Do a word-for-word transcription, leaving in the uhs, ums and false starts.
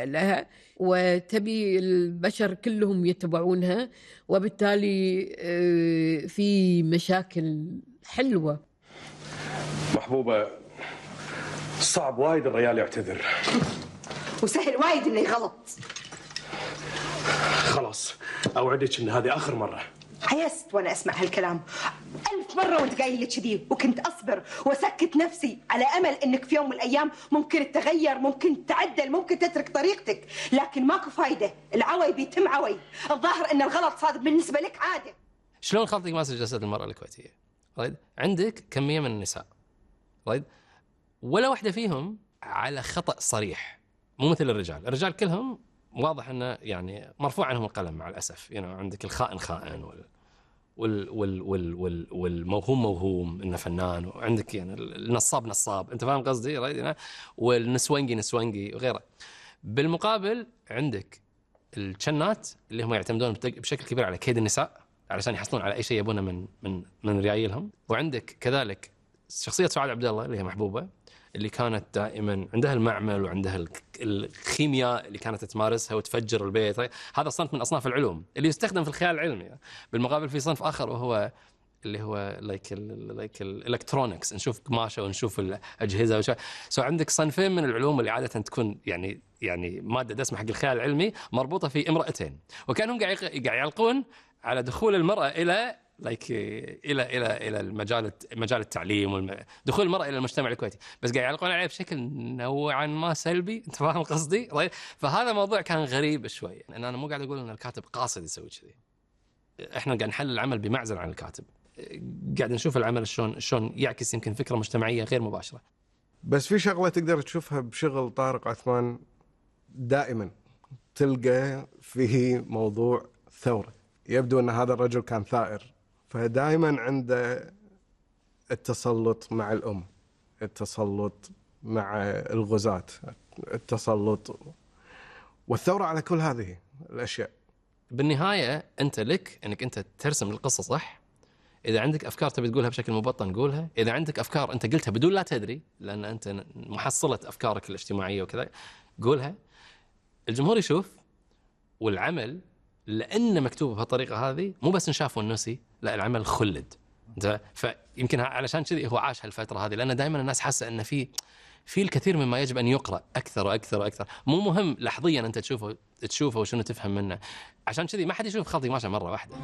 لها وتبي البشر كلهم يتبعونها، وبالتالي في مشاكل حلوة. محبوبة، صعب وايد الرجال يعتذر وسهل وايد انه يغلط. خلاص اوعدك ان هذه اخر مرة. عيست وانا اسمع هالكلام ألف مرة وانت قايل لي كذي، وكنت اصبر واسكت نفسي على امل انك في يوم من الايام ممكن تتغير، ممكن تعدل، ممكن تترك طريقتك، لكن ماكو فايدة. العوي بيتم عوي. الظاهر ان الغلط صار بالنسبة لك عادة. شلون خلطك ماسك جسد المرأة الكويتية؟ رايد عندك كمية من النساء، رايد ولا واحدة فيهم على خطأ صريح، مو مثل الرجال. الرجال كلهم واضح انه يعني مرفوع عنهم القلم مع الاسف. يعني عندك الخائن خائن وال وال وال وال وال والموهوم موهوم انه فنان، وعندك يعني النصاب نصاب، انت فاهم قصدي؟ رايد والنسوانجي نسوانجي وغيره. بالمقابل عندك الشنات اللي هم يعتمدون بشكل كبير على كيد النساء علشان يحصلون على اي شيء يبونه من من من ريايلهم. وعندك كذلك شخصية سعاد عبد الله اللي هي محبوبة، اللي كانت دائما عندها المعمل وعندها الكيمياء اللي كانت تمارسها وتفجر البيت. هذا صنف من أصناف العلوم اللي يستخدم في الخيال العلمي. بالمقابل في صنف آخر وهو اللي هو لايك لايك الالكترونكس، نشوف قماشة ونشوف الأجهزة وش. سو عندك صنفين من العلوم اللي عادة تكون يعني يعني مادة دسمة حق الخيال العلمي مربوطة في امرأتين، وكانهم قاعد قاعد يعلقون على دخول المرأة إلى لايك الى الى الى المجال مجال التعليم ودخول المراه الى المجتمع الكويتي، بس قاعد يعلقون عليه بشكل نوعا ما سلبي. انت فاهم قصدي؟ فهذا موضوع كان غريب شوي. ان انا مو قاعد اقول ان الكاتب قاصد يسوي كذي، احنا قاعد نحلل العمل بمعزل عن الكاتب، قاعد نشوف العمل شلون شلون يعكس يمكن فكره مجتمعيه غير مباشره. بس في شغله تقدر تشوفها بشغل طارق عثمان دائما، تلقى فيه موضوع ثوره. يبدو ان هذا الرجل كان ثائر، فدائما عنده التسلط مع الأم، التسلط مع الغزاة، التسلط والثورة على كل هذه الأشياء. بالنهاية أنت لك أنك أنت ترسم القصة صح. إذا عندك أفكار تبي تقولها بشكل مبطن قولها، إذا عندك أفكار أنت قلتها بدون لا تدري لأن أنت محصلة أفكارك الاجتماعية وكذا قولها. الجمهور يشوف، والعمل لأنه مكتوب بهالطريقة هذه مو بس نشاف ونسي، لا العمل خلد. فيمكن علشان كذي هو عاش هالفترة هذه، لأن دائما الناس حاسة أن في في الكثير مما يجب أن يقرأ أكثر وأكثر وأكثر. مو مهم لحظيا أنت تشوفه تشوفه وشنو تفهم منه. عشان كذي ما حد يشوف خلطي ماشى مرة واحدة.